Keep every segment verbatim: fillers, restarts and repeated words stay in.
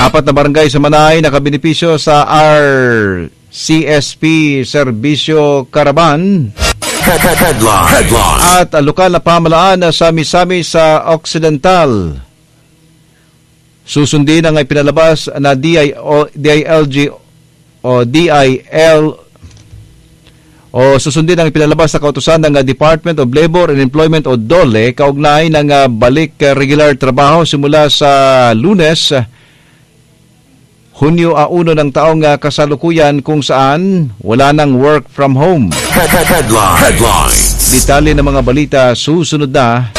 Apat na barangay sa Manay nakabenepisyo sa R C S P Serbisyo Caravan. Headline. Headline. At uh, lokal na pamahalaan sa Misamis sa Occidental, susundin ang ipinalabas na D I O, D I L G o D I L o susundin ang ipinalabas sa kautusan ng uh, Department of Labor and Employment o DOLE kaugnay ng uh, balik uh, regular trabaho simula sa Lunes, Hunyo a uno ng taong uh, kasalukuyan, kung saan wala nang work from home. Headline. Headline. Detalye ng mga balita, susunod na.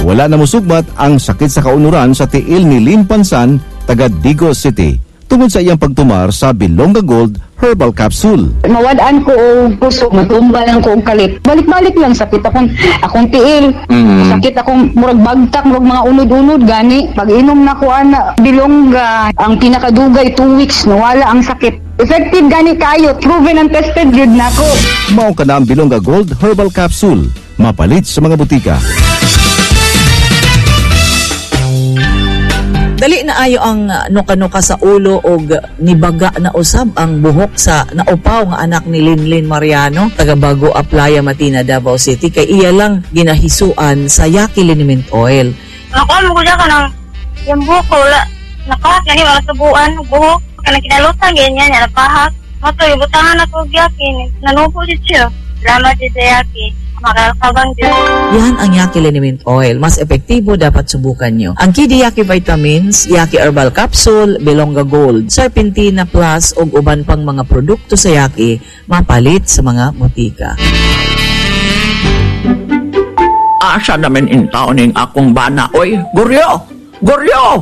Wala na musugmat ang sakit sa kaunuran sa tiil ni Lim Pansan, taga Digos City, tungod sa iyang pagtumar sa Bilonga Gold Herbal Capsule. Mawad-an ko og puso, matumba lang ko og kalit. Balik-balik lang sakit akong akong tiil. Sakit akong murag bagtak, murag mga unod-unod gani. Pag inom na ko ana Bilongga, ang pinakadugay two weeks, nawala ang sakit. Effective gani kayo, proven and tested gyud nako. Mao ka na ang Bilonga Gold Herbal Capsule. Mapalit sa mga butika. Dali na ayo ang uh, nuka-nuka sa ulo og nibaga na usab ang buhok sa naupaw nga anak ni Linlin Mariano, taga Bago Aplaya, Matina, Davao City, kay iya lang ginahisuan sa Yaki Liniment Oil. Nakuha mo ko siya kanang yung buhok ko, wala. Napahak na wala subuan, buhok. Kanang kinalutan, ganyan, niya, napahak. Mato, ibutangan ako og Yaki. Nanupo siya. Salamat siya sa Yaki. Makakabang Diyos. Yan ang Yaki Liniment Oil. Mas epektibo, dapat subukan nyo. Ang Kidi Yaki Vitamins, Yaki Herbal Capsule, Bilonga Gold, Serpentina Plus ug uban pang mga produkto sa Yaki, mapalit sa mga butika. Asa naman in taon ning akong bana, oy? Guryo! Guryo!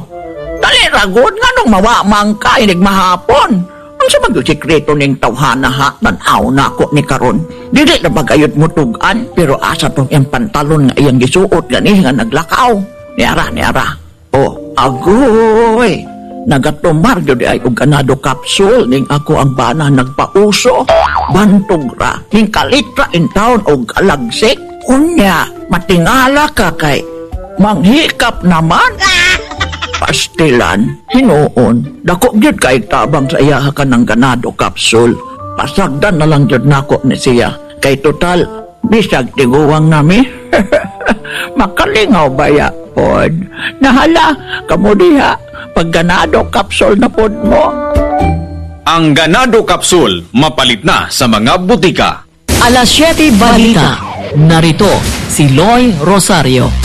Dali ragod nga nung mawamang ka, inig mahapon. Ang sa magyud sikreto ning tawhana ha, tan-aw na ako ni karon. Dili na bagayot mo tugan, pero asa tong iyang pantalon nga iyang gisuot gani nga naglakaw. Niara, niara. Oh, agoy! Nagatumar gyud ay og ganado capsule ning ako ang bana nagpauso. Bantog ra, ning kalitra in town og alagsik. Unya, matingala ka kay manghikap naman. Pastilan, hinuon, dako gyud kay tabang sa iya ka ng ganado capsule. Pasagdan na lang gyud nako ni siya. Kay total, bisag tiguwang nami. Makalingaw baya pod. Nahala, kamo diha, pag ganado capsule na pod mo. Ang Ganado Capsule, mapalit na sa mga butika. Alas siyete Balita. Narito si Loy Rosario.